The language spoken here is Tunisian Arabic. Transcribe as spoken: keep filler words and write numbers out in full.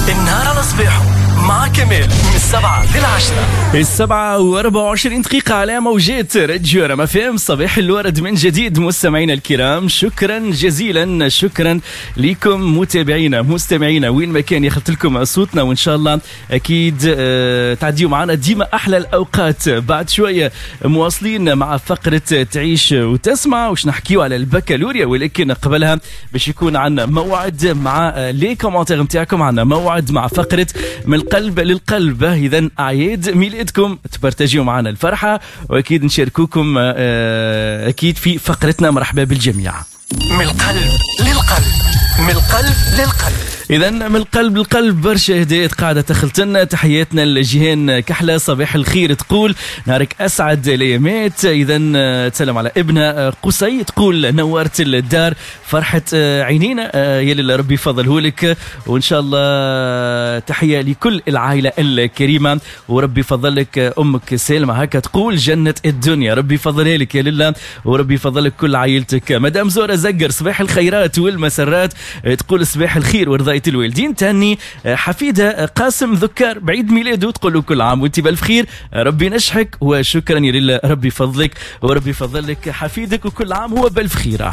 النهار على صباحه مع كمال من السبعة للعشرة. السبعة وأربعة وعشرين دقيقة على موجات راديو رما فام. صباح الورد من جديد مستمعينا الكرام، شكرا جزيلا، شكرا لكم متابعينا مستمعينا وين ما كان يخلط لكم صوتنا، وإن شاء الله أكيد تعديوا معنا ديما أحلى الأوقات. بعد شوية مواصلين مع فقرة تعيش وتسمع وش نحكيو على البكالوريا، ولكن قبلها باش يكون عندنا موعد مع les commentaires نتاعكم، عندنا موعد مع فقرة من القلب للقلب. إذا أعياد ميلادكم تبارتاجيو معنا الفرحة، وأكيد نشاركوكم أكيد في فقرتنا. مرحبا بالجميع. من القلب للقلب، من القلب للقلب. إذا من القلب للقلب برشا هدايات قاعدة تخلتنا. تحياتنا لجيهان كحلة، صباح الخير، تقول نهارك أسعد الأيامات. إذا تسلم على ابنها قصي، تقول نورت الدار فرحة عينينا، يا لله ربي يفضله لك، وإن شاء الله تحية لكل العائلة الكريمة، وربي يفضلك أمك سالمة، هكا تقول جنة الدنيا، ربي يفضلها لك يا لله، وربي يفضلك كل عائلتك. مدام زورة زقر، صباح الخيرات والمسرات، تقول صباح الخير ورضاية الوالدين. تهني حفيدة قاسم ذكار بعيد ميلاده، تقول له كل عام وانت بالف خير، ربي نجحك، وشكرا يا لله، ربي فضلك وربي فضلك حفيدك، وكل عام هو بالف خير.